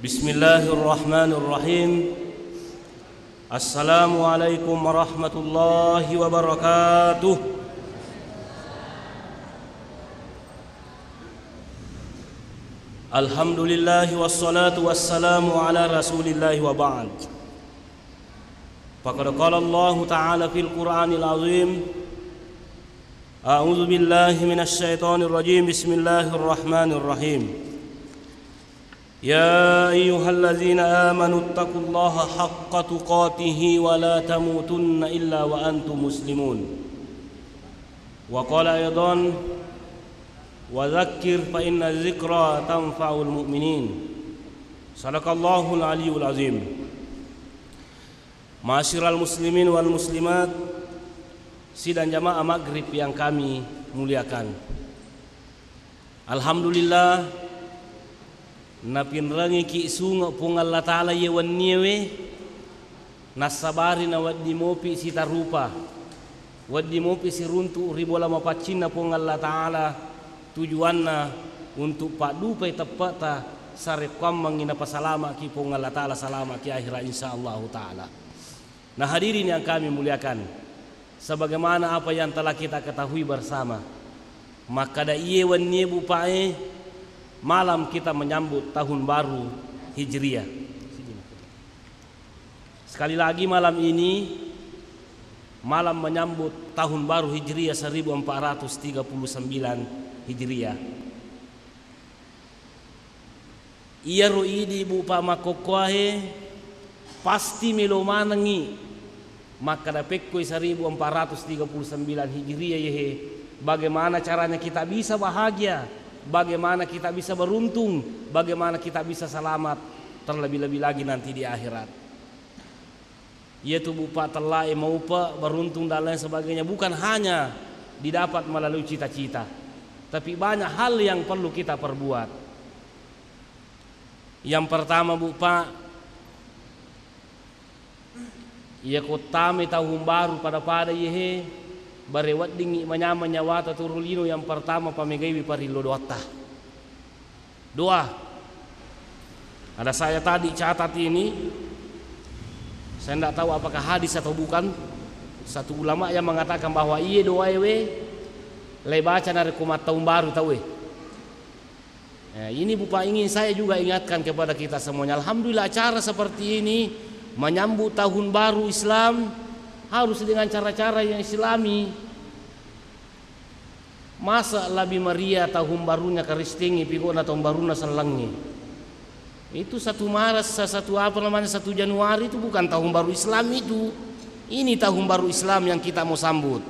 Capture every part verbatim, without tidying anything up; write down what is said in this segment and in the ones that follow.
Bismillahirrahmanirrahim. Assalamualaikum warahmatullahi wabarakatuh. Alhamdulillahi wassalatu wassalamu ala Rasulillahi wa ba'd. Faqad qala Allahu ta'ala fil Qur'anil azim. A'udzu billahi minasy syaithanir rajim. Bismillahirrahmanirrahim. Ya ayyuhalladzina amanu taqullaha haqqa tuqatihi wa la tamutunna illa wa antum muslimun. Wa qala aidan, wa dzakkir fa inna dzikra tanfa'ul mu'minin. Sadaqallahul aliyul azim. Ma'asyiral muslimin wal muslimat, sidang jamaah maghrib yang kami muliakan. Alhamdulillah, napinrengiki sunge' Puang Allah Ta'ala iye wenniewe, nassabari nawedding mopi sitarupa, wedding mopi siruntu' ri bola mapaccinna Puang Allah Ta'ala, tujuanna untuk paddupai teppe'ta sarekkuammengngi napasalama'ki Puang Allah Ta'ala, salama'ki akhirat, insya Allahu Ta'ala. Nah, hadirin yang kami muliakan, sebagaimana apa yang telah kita ketahui bersama, makkada iye wennie, Bu, Pak, e, malam kita menyambut tahun baru Hijriah. Sekali lagi, malam ini malam menyambut tahun baru Hijriah seribu empat ratus tiga puluh sembilan Hijriah. Iyaro idi, Bu, Pak, makkokkoae pasti melo manengngi makkada pekkoi seribu empat ratus tiga puluh sembilan Hijriah yehe, bagaimana caranya kita bisa bahagia, bagaimana kita bisa beruntung, bagaimana kita bisa selamat, terlebih-lebih lagi nanti di akhirat. Iyatu, Bu, Pak, tellae maupe, beruntung dan lain sebagainya bukan hanya didapat melalui cita-cita, tapi banyak hal yang perlu kita perbuat. Yang pertama, Bu, Pak, iyako tamai tahun baru pada-pada yehe, bare weddingngi manyameng nyawata turu lino, yang pertama pamegaiwi parillo doatta. Doa. Ada saya tadi catat ini, saya ndak tahu apakah hadis atau bukan. Satu ulama yang mengatakan bahwa iye doa ewe lai baca narekko mattaung baru tauwe. Eh, ini, Bu, Pak, ingin saya juga ingatkan kepada kita semuanya. Alhamdulillah, acara seperti ini menyambut tahun baru Islam harus dengan cara-cara yang Islami. Masa lebih meriah tahun barunya Kristengnge pigona tahun barunna sellengnge? Itu satu Maret, sa-, satu apa namanya, satu Januari itu bukan tahun baru Islam itu. Ini tahun baru Islam yang kita mau sambut.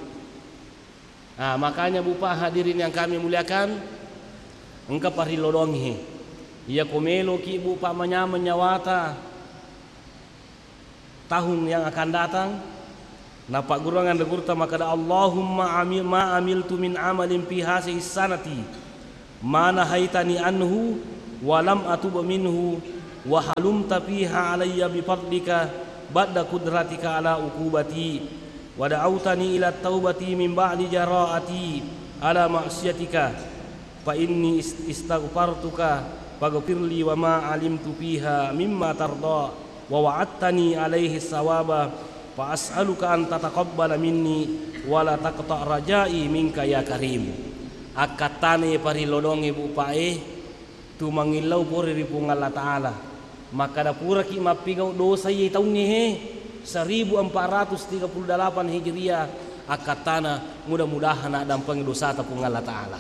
Nah, makanya, Bu, Pak, hadirin yang kami muliakan, engka parillo doangnge. Iyako meloki, Bu, Pak, manyameng nyawata tahun yang akan datang, napaggurungang anre gurutta makkada, "Allahumma ami-, ma amiltu min amalin fi hazihi sanati ma nahaitani anhu wa lam atub minhu wa halumta fiha alayya bi fadlika ba'da qudratika ala uqubati wa da'autani ila taubati min ba'di jara'ati ala ma'siyatika." Fa inni ist-, istaghfartuka faghfirli wa ma alimtu fiha mimma tarda wa wa'adtani alaihi sawaba fa as'aluka an tataqabbala minni wa la taqta rajai minka ya karim. Akkattana parillo doangnge, Bu, Pak, e, tu mangillau pore ri Puang Allah Ta'ala. Makkada puraki mappigau dosa iye taungnge he, seribu empat ratus tiga puluh delapan Hijriah, akkattana mudah-mudahan naddampengi dosata Puang Allah Ta'ala.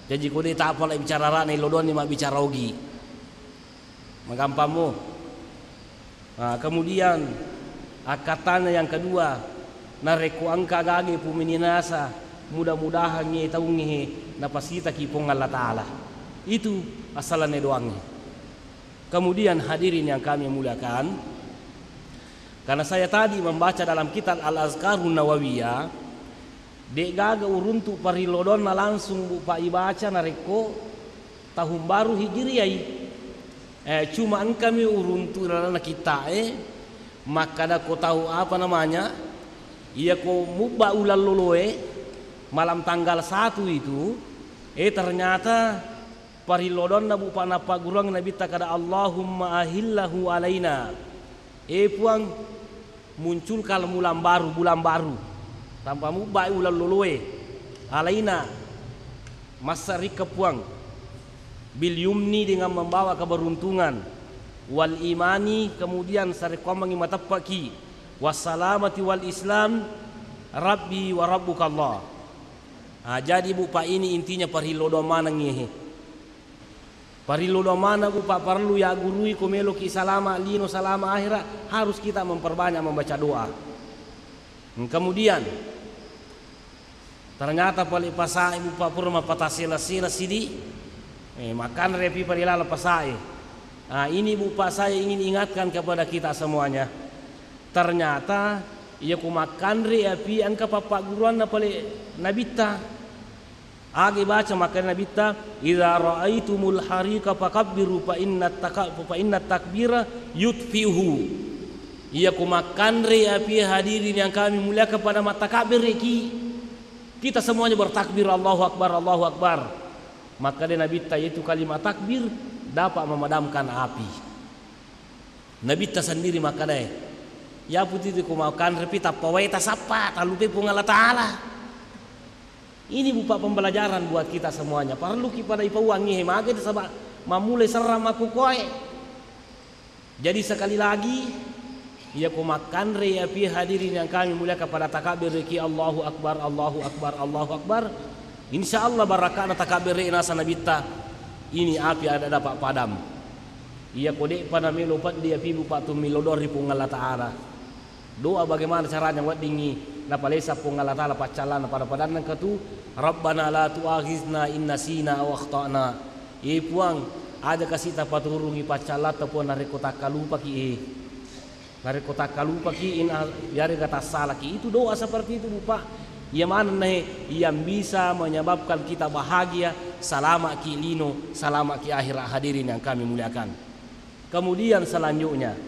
Jaji ko de' tapala bicara ra'na, illo doanni mabbicara ogi. Magampammo. Nah, kemudian akkattana yang kedua, narekko engka gage pumini nasa, mudah-mudahan nge taungnge he napasitaki Puang Allah Ta'ala. Itu asalanna doangnge. Kemudian, hadirin yang kami muliakan, karena saya tadi membaca dalam kitab Al-Azkarun Nawawiyah, de'gaga uruntu parillo doanna langsung, Bu, Pak, ibaca narekko tahun baru Hijriah i. Eh, cuma engkami uruntu ri lalenna kitta'e, makkada ko tau, apa namanya, iyako mubba uleng loloe, malam tanggal satu itu, eh, ternyata Parillodonna, Bu, pa nappagguruang Nabitta kada, "Allahumma ahillahu alaina." Eh, Puang, munculkan bulan baru, bulan baru. Tanpa mubbai uleng loloe. Alaina, massarikka, Puang. Bil yumni, dengan membawa keberuntungan. Wal imani, kemudian sarekkuammengngi mateppaki. Wassalamati wal islam, Rabbi wa Rabbuka Allah. Ah, jadi, Bu, pa ini intinya parillodong manengngi he. Parillodong maneng, Bu, pa parellu yaggurui ko meloki salama lino, salama akhirat, harus kita memperbanyak membaca doa. Hmm, kemudian, ternyata pale pasae, Bu, pa pura mappatasela-sela sidi, eh, makanre pi pale lala pasae. Ah, ini, Bu, pa saya ingin ingatkan kepada kita semuanya. Ternyata, iya ko makkanre api engka pappagguruanna pale Nabitta. Aga baca makkeda Nabitta, "Idza ra'aitumul hariqa fakabbiru fa inna taka-, fa inna takbira yutfi'uhu." Iya ko makkanre api, hadirin yang kami muliakan, pada mattakabbireki. Kita semuanya bertakbir, "Allahu Akbar, Allahu Akbar." Makkeda Nabitta, yaitu kalimat takbir dapat memadamkan api. Nabitta sendiri makkedae, "Yapu titi ko makkanrepi tappa wae tasappa, tallupai Puang Allah Ta'ala." Ini, Bu, pa pembelajaran buat kita semuanya. Parelluki pada ipauangngi he mage, nasaba mammulai serrang makkukoe. Jadi, sekali lagi, iya ko makkanre api, hadirin yang kami muliakan, pada takabbirki, "Allahu Akbar, Allahu Akbar, Allahu Akbar." Insya Allah, barakana takabbere nasa Nabitta, ini api ada dapat padam. Iya ko de'pa namelo peddi api, Bu, pa tummillo doa ri Puang Allah Ta'ala. Doa bagaimana caranya weddingngi napalesa Puang Allah Ta'ala paccallanna pada-padanna engka tu, "Rabbana la tu'akhizna in nasina aw akhtana." Eh, Puang, aja kasi tapaturungi paccallatta, Puang, narekko takkalupaki, eh. Narekko takkalupaki, in a-, yarega tassalaki. Itu doa seperti itu, Bu, pa. Iya manenna he yang bisa menyebabkan kita bahagia, salama'ki lino, salama'ki akhirat, hadirin yang kami muliakan. Kemudian selanjutnya,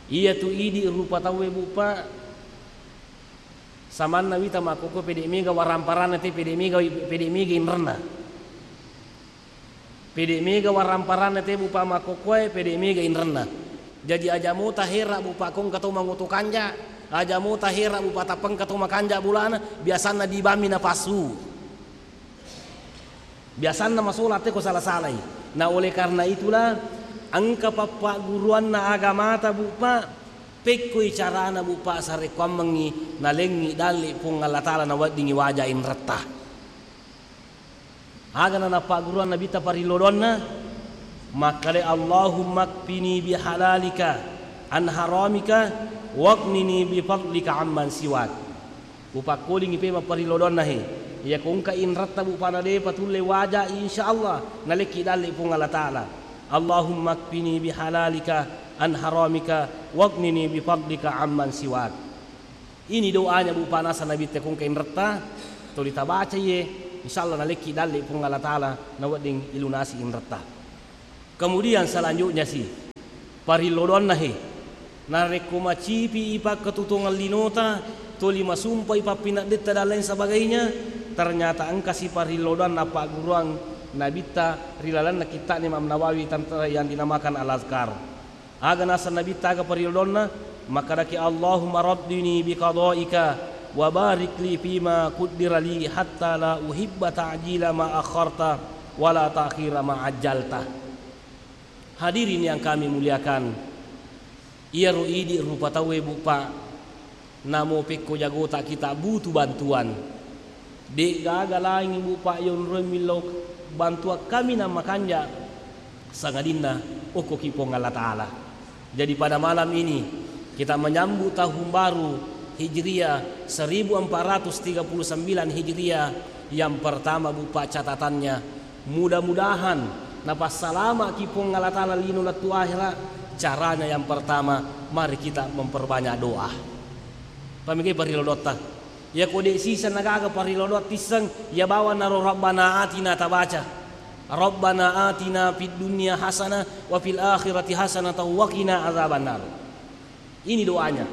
iya tu idi rupa tauwe, Bu, pa, samanna wita makkokko pede mega waramparanna te, pede mega, pede mega inrenna. Pede mega waramparanna te, Bu, pa, makkokkoe, pede mega inrenna. Jaji aja mo tahera, Bu, pa, ko engka to mangoto kanja, aja mo tahera, Bu, pa, tappa engka to makanja bolana, biasanna dibammi napassu. Biasanna masola te ko sala-salai. Nah, oleh karena itulah, engka pappagguruanna agamata, Bu, pa, pekkoi carana, Bu, pa, sarekkuammengngi nalengngi dalle Puang Allah Ta'ala naweddingngi waja inretta. Agana nappagguruang Nabitta parillodonna, makkeda, "Allahumma kfini bihalalika an haramika, waghnini bifadlika amman siwak." Upakkolingi pe mapparillodonna he. Iya ko engka inretta, Bu, pa, na depa tulle waja, insya Allah nalekki dalle Puang Allah Ta'ala. "Allahumma kfini bihalalika an haramika, waghnini bifadlika amman siwak." Ini doanya, Bu, pa, nasa Nabitta ko engka inretta, tuli tabaca iye, insya Allah nalekki dalle Puang Allah Ta'ala, nawedding ilunasi inretta. Kemudian selanjutnya si, parillodonna he, narekko macipi i pakkatutungeng linota, tuli masumpa i pappineddetta dan lain sebagainya, ternyata engka si parillodonna pagguruang Nabitta ri lalenna kitta'na Imam Nawawi tentang yang dinamakan Al-Azkar. Aga naseng Nabitta aga parillodonna? Makkedaki, "Allahumma raddini biqadaika wa barik li fima quddira li hatta la uhibba ta'jila ma akharta wa la ta'khira ma ajjalta." Hadirin yang kami muliakan, iyaro idi rupa tauwe, Bu, pa, namo pekko jagota kita butuh bantuan. De'gaga laing, Bu, pa, yonroi millau bantuan kami na makanja, sangadinna okkoki Puang Allah Ta'ala. Jadi pada malam ini kita menyambut tahun baru Hijriah seribu empat ratus tiga puluh sembilan Hijriah yang pertama, Bu, pa, catatannya, mudah-mudahan napassalama'ki Puang Allah Ta'ala lino lettu akhira. Caranya yang pertama, mari kita memperbanyak doa. Pamega parillodota? Iya ko de' siseng nagaga parillodota tisseng, iya bawang naro Rabbana atina tabaca. Rabbana atina fid dunya hasanah wa fil akhirati hasanah wa qina adzabannar. Ini doanya.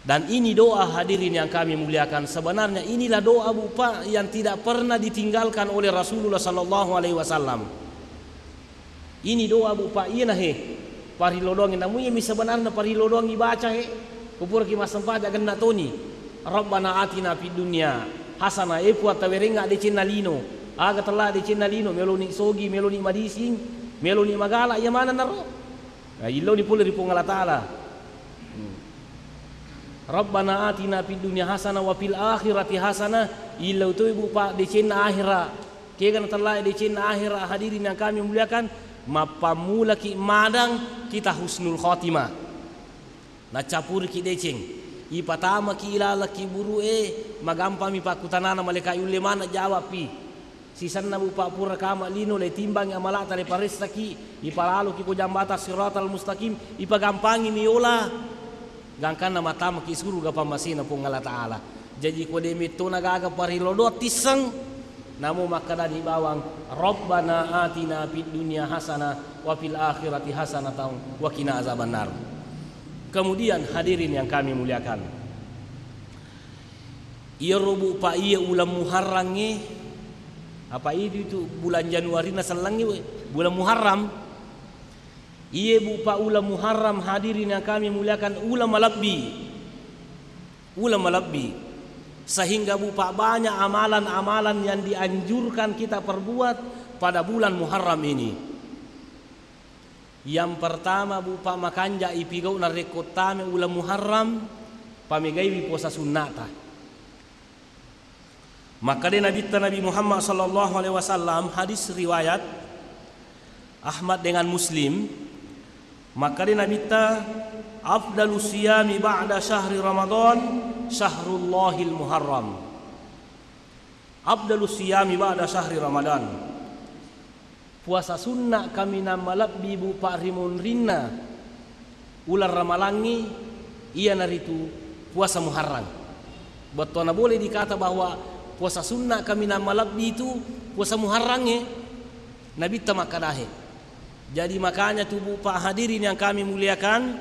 Dan ini doa, hadirin yang kami muliakan, sebenarnya inilah doa, Bu, Pak, yang tidak pernah ditinggalkan oleh Rasulullah sallallahu alaihi wasallam. Ini doa, Bu, Pak, iyana he parilodongi, namu iyami sebenarnya parilodongi baca he. Kupuraki massempajang genna toni. Rabbana atina fid dunya hasanah, e Puang, tawerengnga decenna lino. Aga tella decenna lino, meloni sogi, meloni madising, meloni magala, iya maneng naro. Nah, illoni pole ri Puang Allah Ta'ala. Hmm. Rabbana atina fid dunya hasanah wa fil akhirati hasanah, illau toi, Bu, Pak, decenna akhira. Kega natellai decenna akhira, hadirin yang kami muliakan, mappammulaki madang kita husnul khotimah. Naccapuriki deceng, ipatamaki ilaleng kiburu'e, magampami pakkutanana malaika, yulle maneng jawabpi. Sisenna, Bu, Pak, pura kama lino, le timbangi amalata, le paressaki, ipalaloki ko jambata siratal mustaqim, ipagampangi mi yola. Gangkanna matamaki suruga pammasena Puang Allah Ta'ala. Jaji ko de mettona gaga parilodoang tisseng, namo makkedani bawang, Rabbana atina fid dunya hasanah wa fil akhirati hasanatan wa qina azabannar. Kemudian, hadirin yang kami muliakan, iyaro, Bu, Pak, iya uleng Muharrangnge, apa itu, itu bulan Januari nasellengngi, we, bulan Muharram. Iye, Bu, Pak, uleng Muharram, hadirin yang kami muliakan, uleng malebbi. Uleng malebbi. Sehingga, Bu, Pak, banyak amalan-amalan yang dianjurkan kita perbuat pada bulan Muharram ini. Yang pertama, Bu, Pak, makanja ipigau narekko tame uleng Muharram, pamegaiwi puasa sunnata. Makkeda Nabitta Nabi Muhammad sallallahu alaihi wasallam, hadis riwayat Ahmad dengan Muslim, makkeda Nabitta, "Afdalu siyami ba'da syahri Ramadan syahrullahil Muharram." Afdalu siyami ba'da syahri Ramadan. Puasa sunna kaminang malebbi, Bu, Pak, ri munrinna uleng Ramalangngi, iyanaritu puasa Muharram. Bettuanna boleh dikata bahwa puasa sunna kaminang malebbi itu puasa Muharrangnge, Nabitta makkadahe. Jadi makanya tu, Bu, Pak, hadirin yang kami muliakan,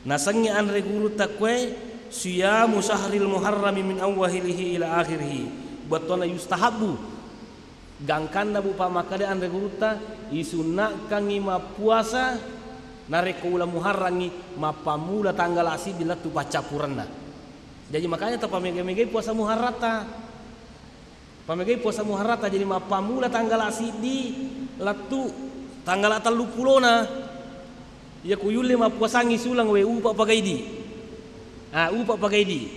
nasengnge anre gurutta kue, siyamu syahril muharrami min awwalihi ila akhirih. Bettuanna yustahabbu. Gangkanna, Bu, Pak, makkeda anre gurutta, isunnakkangngi mappuasa narekko uleng Muharrangngi, mappammula tanggala siddi lettu paccappurenna. Jaji makanya tapamega-megai puasa Muharratta. Pamegai puasa Muharratta, jadi mappammula tanggala siddi lettu tanggala telluppulona. Iya ku yulle mappuasangngi suleng, we, upa pagaidi. Ah, upa pagaidi.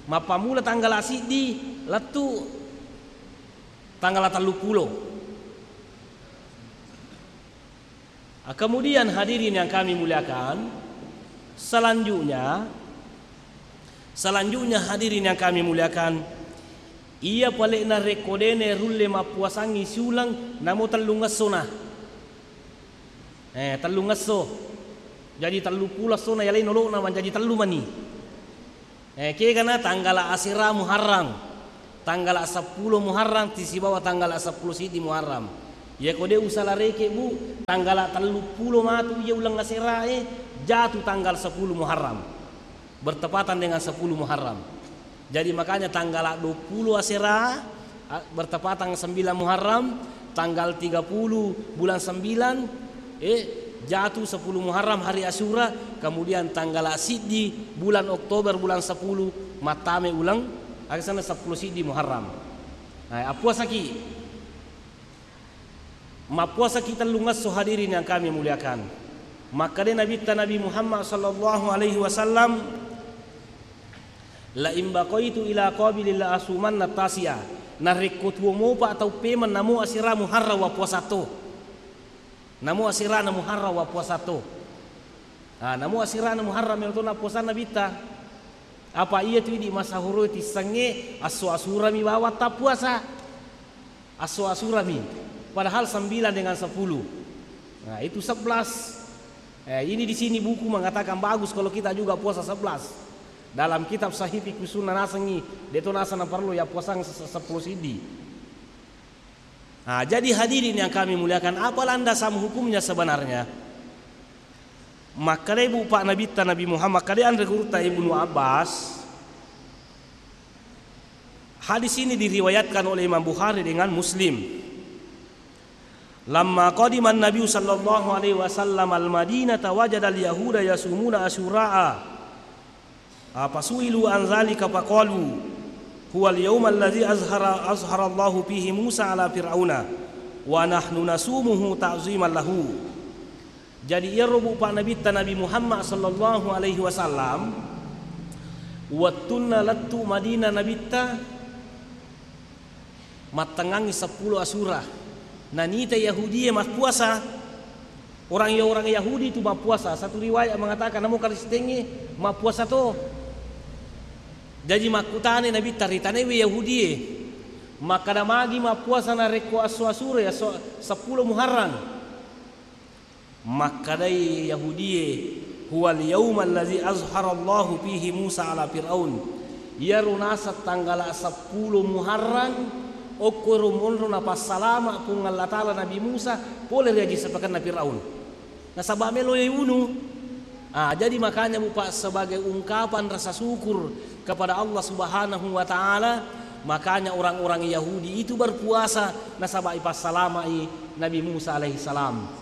Mappammula tanggala siddi lettu tanggala telluppulo. Ah, kemudian, hadirin yang kami muliakan, selanjutnya, selanjutnya, hadirin yang kami muliakan, iya pale'na rekko dene rulle mappuasangngi siuleng, namo tellung essona. Eh, tellung esso. Jadi telluppulo essona yalai nolo'na mancaji tellu mani. Eh, kegana tanggala asera Muharram, tanggala seppulo Muharram tisibawa tanggala seppulo siddi Muharram. Iya ko de usala reke, Bu, tanggala telluppulo matu iya uleng aserae jatu tanggal sepuluh Muharram, bertepatan dengan sepuluh Muharram. Jadi makanya tanggala duappulo asera, a, bertepatan sembilan Muharram, tanggal tiga puluh bulan sembilan, eh, jatuh sepuluh Muharram hari Asyura, kemudian tanggal siddi bulan Oktober, bulan sepuluh, mattame uleng, aksana seppulo siddi Muharram. Nah, appuasaki. Mappuasaki tellung esso, hadirin yang kami muliakan. Makkeda Nabitta Nabi Muhammad sallallahu alaihi wasallam, "La in baqaitu ila qabilin la asumanna tasi'a." Narekko tuo mopa tau pemeng namo asera Muharram wa puasa to. Namo asera na Muharram wa puasa to. Ah, namo asera na Muharram ero to na puasanna Nabitta. Apa iya tu idi masahuroi tissengnge asso asurami bawang tappuasa. Asso asurami. Padahal sembilan dengan sepuluh. Nah, itu sebelas. Eh, ini di sini buku mengatakan bagus kalau kita juga puasa sebelas. Dalam kitab Sahih Fiqh Sunnah nasengngi, deto naseng naparellu ya puasang se-, se-, sepuluh siddi. Nah, jadi hadirin yang kami muliakan, apa landasan hukumnya sebenarnya? Makkedai bupa Nabitta Nabi Muhammad, makkedai anre gurutta Ibnu Abbas, hadis ini diriwayatkan oleh Imam Bukhari dengan Muslim. Lamma qadiman Nabi sallallahu alaihi wasallam al-Madinata wajadal yahuda yasumuna asyura'a. Ah, fasu'ilu an zalika faqalu, "Huwal yaumal ladzi azhara, azharallahu fihi Musa ala Fir'auna, wa nahnu nasumuhu ta'ziman lahu." Jadi, iyaro bupa Nabitta Nabi Muhammad sallallahu alaihi wasallam, wettunna lettu Madinah Nabitta, mattengngangngi seppulo Asyura. Nanita Yahudie mappuasa. Orang, orang Yahudi itu mappuasa. Satu riwayat mengatakan, namo Kristengnge mappuasa to. Jaji makkutana Nabitta, ritanaiwi Yahudie, makkeda magi mappuasa narekko esso Asyura, ya, so-, seppulo Muharram. Makkedai Yahudie, "Huwal yaumal ladzi azharallahu fihi Musa ala Fir'aun." Iyaro naseng tanggala seppulo Muharram, okkoro monro napassalama Puang Allah Taala Nabi Musa pole ri aji sepakenna Firaun. Nasaba melo iwunu. Ah, jadi makanya, bupa, sebagai ungkapan rasa syukur kepada Allah Subhanahu wa Ta'ala, makanya orang-orang Yahudi itu berpuasa nasaba ipassalamai Nabi Musa alaihi salam.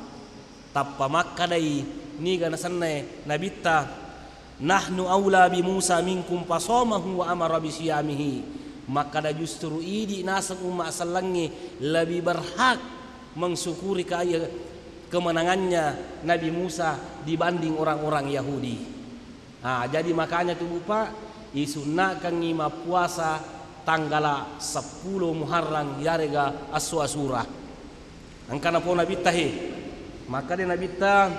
Tappa makkedai, niga nasennae Nabitta, "Nahnu aula bi Musa minkum fasamahu wa amara bi siyamihi." Makkeda justru idi naseng umma sellengnge lebih berhak mensyukuri kaya kemenangannya Nabi Musa dibanding orang-orang Yahudi. Ah, jadi makanya tu, bupa, isunnakangngi mappuasa tanggala seppulo Muharram, yarega esso Asyura. Engka napo Nabitta he. Makkeda Nabitta,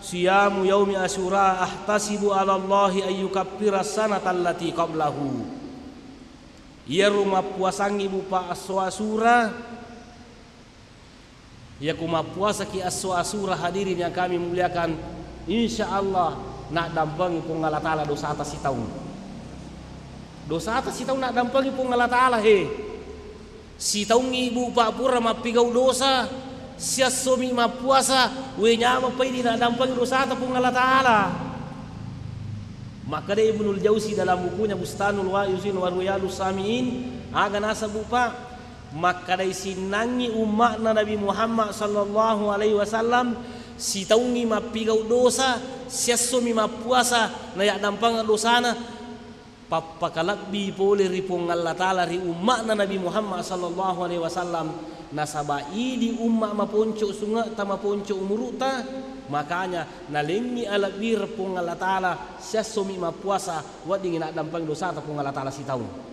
"Siyamu yaumi Asyura ahtasibu 'ala Allahi an yukaffira sanata allati qablahu." Iyaro mappuasangngi, bupa, esso Asyura, iyako mappuasaki esso Asyura, hadirin yang kami muliakan, insya Allah naddampengi Puang Allah Taala dosata sitaung. Dosata sitaung naddampengi Puang Allah Taala he. Sitaungngi, bupa, pura mappigau dosa, siessomi mappuasa, we nyameng paidi naddampengi dosata Puang Allah Taala. Makkeda Ibnul Jauzi dalam bukunya Bustanul Wa'izin wa Riyadus Sami'in, aga naseng, bupa, makkedai sinnangngi umma'na Nabi Muhammad sallallahu alaihi wasallam, sitaungngi mappigau dosa, siessomi mappuasa, nayaddampengeng dosana, pappakalebbi pole ri Puang Allah Taala ri umma'na Nabi Muhammad sallallahu alaihi wasallam, nasaba idi umma maponco sunge'ta, maponco umuru'ta, makanya nalengngi alebbireng Puang Allah Taala, siessomi mappuasa, weddingngi naddampengi dosata Puang Allah Taala sitaung.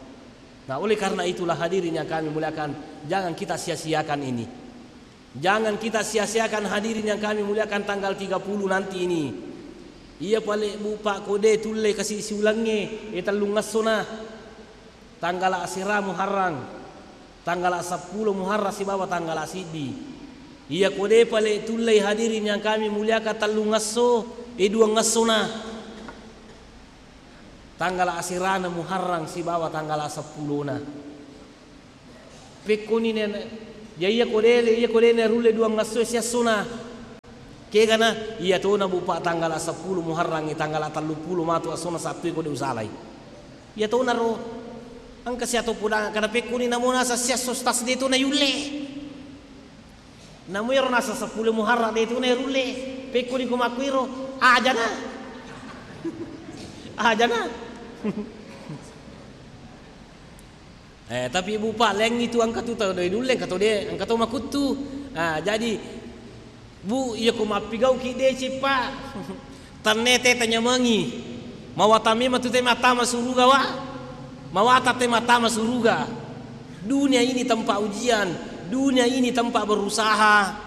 Nah, oleh karena itulah, hadirin yang kami muliakan, jangan kita sia-siakan ini. Jangan kita sia-siakan, hadirin yang kami muliakan, tanggal tiga puluh nanti ini. Iya pale, bupa, ko de tulle kasi siulengnge, e, tellung essona. Tanggala asera Muharram, tanggala seppulo Muharram sibawa tanggala siddi. Iya ko de pale tullei, hadirin yang kami muliakan, tellung esso, e, duang essona. Tanggala aserana Muharram sibawa tanggala seppulona. Pekkoni ne, ya iya ko dele, iya ko dele rulle duang esso siessona. Kegana, iya tona, bupa, tanggala seppulo Muharram, tanggala telluppulo matu essona Sabtu ko de usalai. Iya tona ro. Engka siato podang, kada pekkoni namo nasa siasso tas de tona yulle. Namo iyaro nasa seppulo Muharram de tona rulle. Pekkoni ko makkuiro, ajana. Ajana. Eh, tapi bupa, lengngi tu engka tu tau doi nulle, engka to de, engka to makuttu. Ah, jadi, bu, iya ko mappigauki deceng, Pak. Tanne te tanyamengi. Mawatang memang tu te mattama suruga, wa. Mawatang te mattama suruga. Dunia ini tempat ujian, dunia ini tempat berusaha.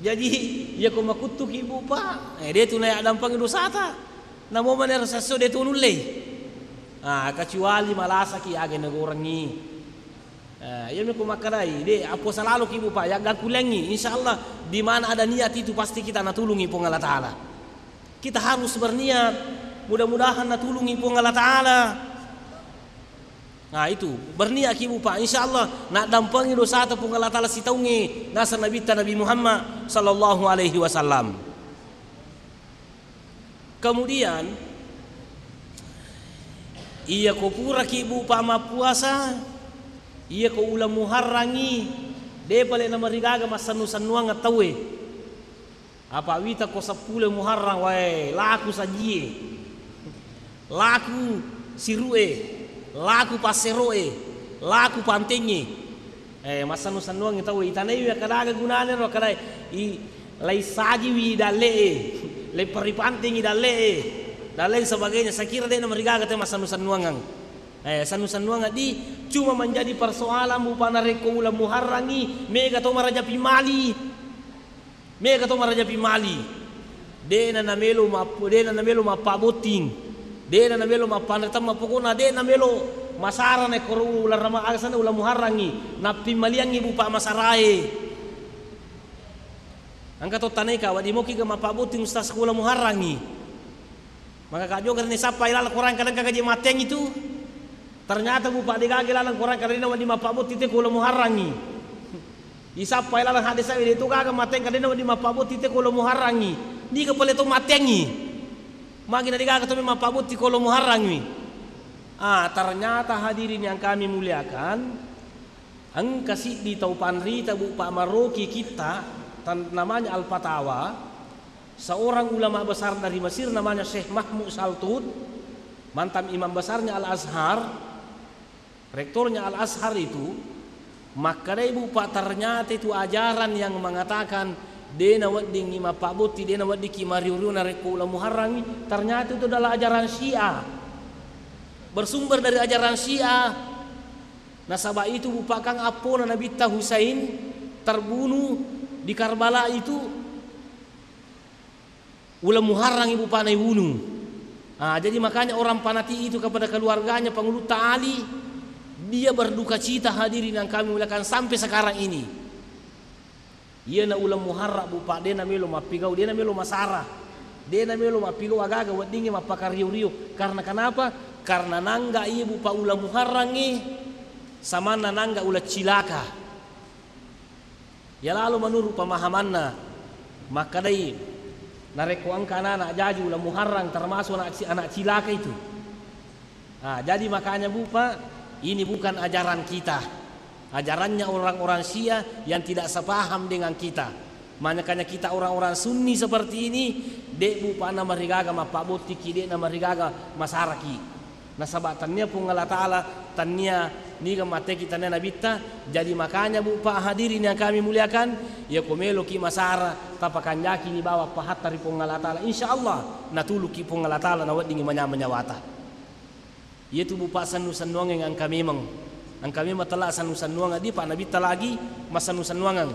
Jaji, iya ko makuttuki, bupa, eh, de tu nayaddampengi dosata. Namo manero sesso de tu nullei. Ah, kecuali malasaki aga nagorengngi. Ah, iya mi ko makkedai, de, appuasa laloki, bupa, yaggangkulengngi. Insya Allah, di mana ada niat itu pasti kita natulungi Puang Allah Taala. Kita harus berniat. Mudah-mudahan natulungi Puang Allah Taala. Nah, itu, berniatki, bupa, insya Allah naddampengi dosata Puang Allah Taala sitaungnge, naseng Nabitta Nabi Muhammad sallallahu alaihi wasallam. Kemudian, iya ko puraki bupa mappuasa, iya ko uleng Muharrangngi, depa le namarigaga massennu-sennuang tauwe. Apa wita ko seppulo Muharrang, wae, laku sajie, laku sirue, laku passeroe, laku pantengnge. Eh, massennu-sennuangngi tauwe, itanaiwi akkadaga gunana ro, akkadai, i, lai sajiwi dalle'e, lai peripantengngi dalle'e, dan lain sebagainya. Saya kira de'na marigaga te massennu-sennuangang. Eh, sennu-sennuangang di, cuma menjadi persoalan bupa narekko uleng Muharrangngi, mega to marajapi mali. Mega to marajapi mali. De'na namelo mappu-, de'na namelo mappabotting. De'na namelo mappanre temma, pokokna de'na melo masara naekkoro uleng Rama-, aga senna uleng Muharrangngi. Nappimmaliangngi bupa masarae. Engka to tanai ka, wedding moki ga mappabotting ustaz ko uleng Muharrangngi. Maka ka jokka ni sappai laleng Korang kadang kaga je matteang itu. Ternyata bupa degaga laleng Korang kadang wedding mappabotting te ko uleng Muharrangngi. Isappai laleng hadis sawi de to gaga matteang kadang wedding mappabotting te ko uleng Muharrangngi. Niga pale to matteangngi. Magi na degaga to mappabotting ko uleng Muharrangngi. Ah, ternyata hadirin yang kami muliakan, engka siddi tau panrita bupa maroki kitta, tan-, namanya Al-Fatawa, seorang ulama besar dari Mesir namanya Syekh Mahmud Saltut, mantan imam besarnya Al-Azhar, rektornya Al-Azhar itu, makkedai bupa ternyata itu ajaran yang mengatakan de naweddingngi mappabotting, de naweddingki mario-rio narekko uleng Muharrangngi, ternyata itu adalah ajaran Syiah. Bersumber dari ajaran Syiah. Nasaba itu bupa kan appona Nabitta Husain terbunuh di Karbala itu, uleng Muharrangngi bupana ibunuh. Ah, jadi makanya orang Panati itu kepada keluarganya, Pangulutta Ali, dia berduka cita, hadirin yang kami muliakan, sampai sekarang ini. Iyana uleng Muharra bupa de namelo mappigau, de namelo masara, de namelo mappigau agaga weddingnge mappakario-rio. Karena kenapa? Karena nangga iya bupa uleng Muharrangnge samanna nangga uleng cilaka. Ya lalu menurut pemahamanna, makkedai narekko engka anak-anak jaji uleng Muharrang termasuk anak ci-, anak cilaka itu. Ah, jadi makanya bupa, ini bukan ajaran kita. Ajarannya orang-orang Syiah yang tidak sepaham dengan kita. Makanya kita orang-orang Sunni seperti ini, de bupa namarigaga mappabottingki, de namarigaga masaraki. Nasaba tannia Puang Allah Ta'ala, tannia niga mateki, tannia Nabitta. Jadi makanya bupa, hadirin yang kami muliakan, ya ko meloki masara, tapakanjaki ni bawang pahatta ri Puang Allah Ta'ala. Insya Allah natuluki Puang Allah Ta'ala, naweddingi manyama nyawata. Iyatu bupa sennu-sennuangeng engka memeng. Engka memeng tella sennu-sennuangeng, di pa Nabitta lagi massennu-sennuangeng.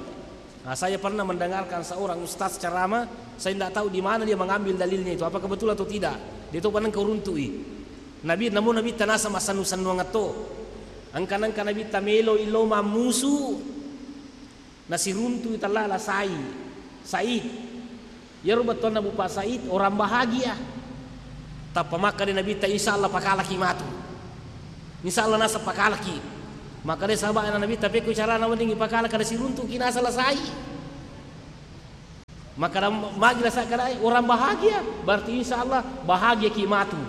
Nah, saya pernah mendengarkan seorang ustaz ceramah, saya tidak tahu di mana dia mengambil dalilnya itu, apa kebetulan atau tidak. Dia itu pernah kau runtui. Nabi, namun Nabitta naseng massennu-sennuangeng to. Engka nengka Nabitta melo illo mammusu. Nasiruntui tella la Sai-, Said. Iyaro bettuanna bupa Said, orang bahagia. Tappa makkeda Nabitta, "Insya Allah pakalaki matu. Insya Allah naseng pakalaki." Makkeda sahabatna Nabitta, "Pekko carana weddingngi pakalaki?" Kada siruntuki naseng la Sai. Makkeda magi la Sai, kada orang bahagia, berarti insya Allah bahagiaki matu.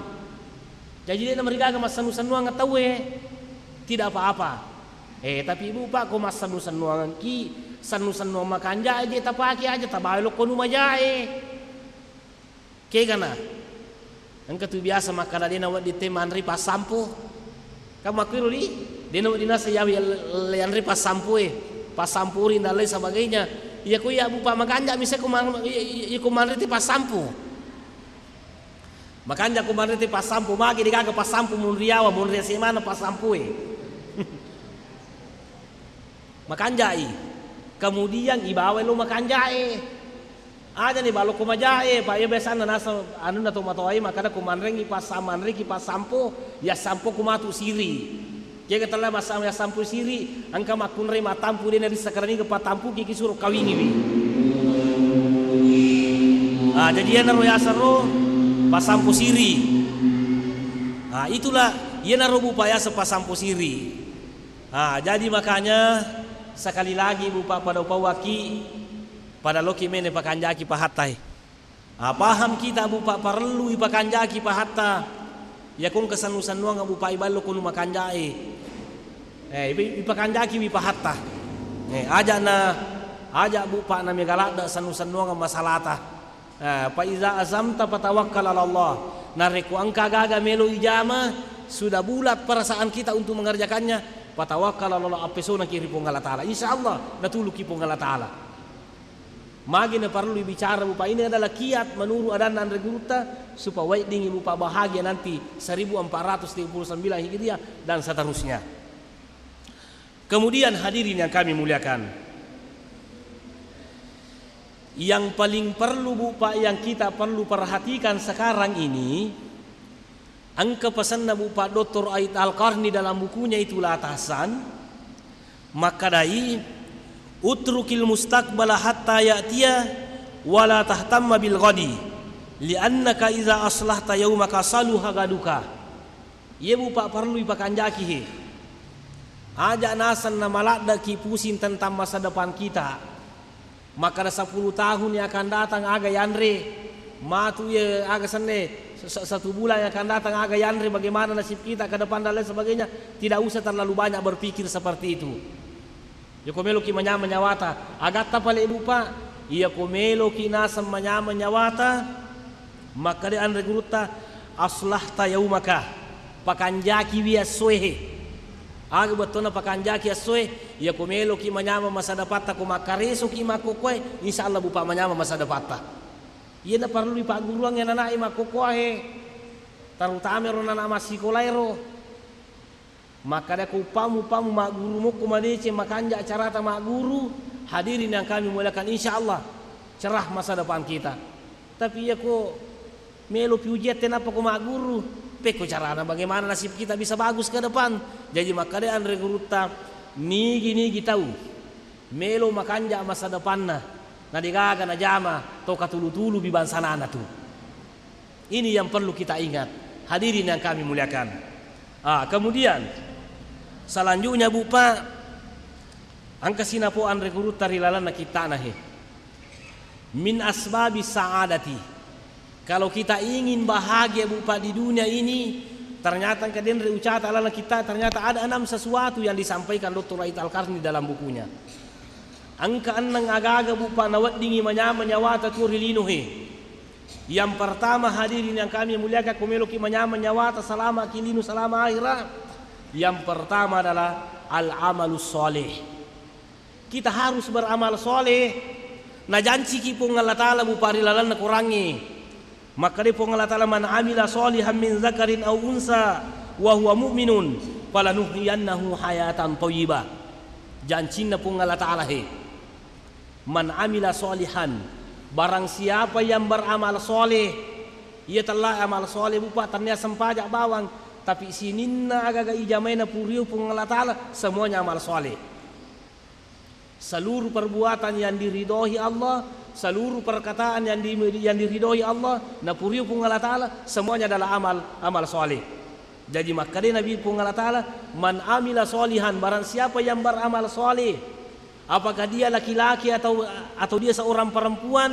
Jaji, de namarigaga massennu-sennuangeng tauwe, tidak apa-apa. Eh, tapi bupa, ko massennu-sennuangengki, sennu-sennuang makanjae je tapake aja, tabawa lokko nu majae. Kegana. Engka tu biasa makkeda de nawedding te manre passampo. Kan makkuiro di, de nawedding naseng yawi yanre passampoe, passampo ri dan lain sebagainya. Iya ko iya bupa makanja misa ko man-, iya, iya, iya ko manre te passampo. Makanja ko manre te passampo, magi degaga passampo, munriawa, munria semana passampoe. Makanjai. Kemudian ibawai lo makanjae. Aja ni balokko majae, pa iya biasanna naseng anunna to matoae makkeda ko manrengi passa-, manreki passampo, ya sampo ko matu siri. Kega tella massa-, ya sampo siri, engka makkunrai matampu de narissa karaniga patampuki ki suro kawingiwi. Ah, jadi iyanaro yaseng ro pasampu siri. Ah, itulah iyanaro bupa yaseng pasampu siri. Ah, jadi makanya sekali lagi bupa pada upauaki, pada loki mene pakanjaki pahattai. Ah, paham kita, Bu, Pak, parellu ipakanjaki pahatta. Iya ko engka sennu-sennuang, Bu, Pak, iballo ko nu makanjae. Eh, ipa-, ipakanjaki wi pahatta. Eh, aja' na, aja', Bu, Pak, na mega ladde' sennu-sennuang masalata. Eh, fa iza azamta fatawakkal 'ala Allah. Narekko engka gaga melo ijama, sudah bulat perasaan kita untuk mengerjakannya, fatawakkal 'ala Allah, appesonaki ri Puang Allah Taala. Insya Allah natuluki Puang Allah Taala. Magi na parellu bicara, Bu, Pak, ini adalah kiat menurut adanna Anre Gurutta, supaya weddingngi, Bu, Pak, bahagia nanti seribu empat ratus tiga puluh sembilan Hijriah dan seterusnya. Kemudian, hadirin yang kami muliakan, yang paling perlu, Bu, Pak, yang kita perlu perhatikan sekarang ini, engka pesanna, Bu, Pak, Doktor Ait Al-Qarni dalam bukunya itu La Tahzan, makkadai, "Utrukil mustaqbala hatta ya'tiya, wa la tahtamma bil ghadi, li'annaka iza aslahta yaumaka saluha gaduka." Iye, Bu, Pak, parellu ipakanjaki he. Aja' naseng na maladde'ki pusing tentang masa depan kita. Makkada sepuluh tahun yang akan datang aga yanre, matu ye aga senne, se-, se-, satu bulan yang akan datang aga yanre, bagaimana nasib kita ke depan dan lain sebagainya. Tidak usah terlalu banyak berpikir seperti itu. Iya ko meloki manyameng nyawata, agatta pale, Bu, Pak? Iya ko meloki naseng manyameng nyawata, makkada Anre Gurutta, "Aslahta yaumaka," pakanjaki wi essoe he. Aga bettuanna pakanjaki essoe? Iya ko meloki manyameng masa depatta, ko makkaresoki makkokkoe, insya Allah, Bu, Pak, manyameng masa depatta. Iyana parellu ipagguruang ananae makkokkoe he, terutama ero nana massikolaero. Makkada ko uppamu, uppamu magguru mokko madeceng, makanja' carata magguru, hadirin yang kami muliakan, insya Allah cerah masa depan kita. Tapi iya ko melopi ujian tenappa ko magguru, pekko carana, bagaimana nasib kita bisa bagus ke depan? Jaji makkada Anre Gurutta, nigi-nigi tau melo makanja' masa depanna, na degaga najama to katulu-tulubi bangsanana tu. Ini yang perlu kita ingat, hadirin yang kami muliakan. Ah, kemudian selanjutnya, Bu, Pak, engka sinapo Anre Gurutta ri lalenna kitta'na he. Min asbabi sa'adati. Kalau kita ingin bahagia, Bu, Pak, di dunia ini, ternyata engka denre ucata lalenna kitta', ternyata ada enam sesuatu yang disampaikan Doktor Ait Al-Qarni dalam bukunya. Engka enneng aga-aga, Bu, Pak, naweddingngi manyameng nyawata tuo ri lino he. Yang pertama, hadirin yang kami muliakan, ko meloki manyameng nyawata, salamaki lino, salama akhirat. Yang pertama adalah al-amalus soleh. Kita harus beramal soleh. Najanciki Puang Allah Taala, Bu, Pak, ri lalenna Korangnge. Makkadai Puang Allah Taala, "Man amila solihan min zakarin au unsa wa huwa mu'minun falanuhyiyannahu hayatan thayyibah." Jancinna Puang Allah Taala he. Man amila solihan, barang siapa yang beramal soleh, iya tella amal soleh, Bu, Pak, tennia sempaja bawang, tapi sininna aga-aga ijamaina purio Puang Allah Taala, semuanya amal soleh. Seluruh perbuatan yang diridhoi Allah, seluruh perkataan yang di-, yang diridhoi Allah, napurio Puang Allah Taala, semuanya adalah amal, amal soleh. Jadi makkadai Nabi Puang Allah Taala, "Man amila solihan," barang siapa yang beramal soleh, apakah dia laki-laki atau, atau dia seorang perempuan,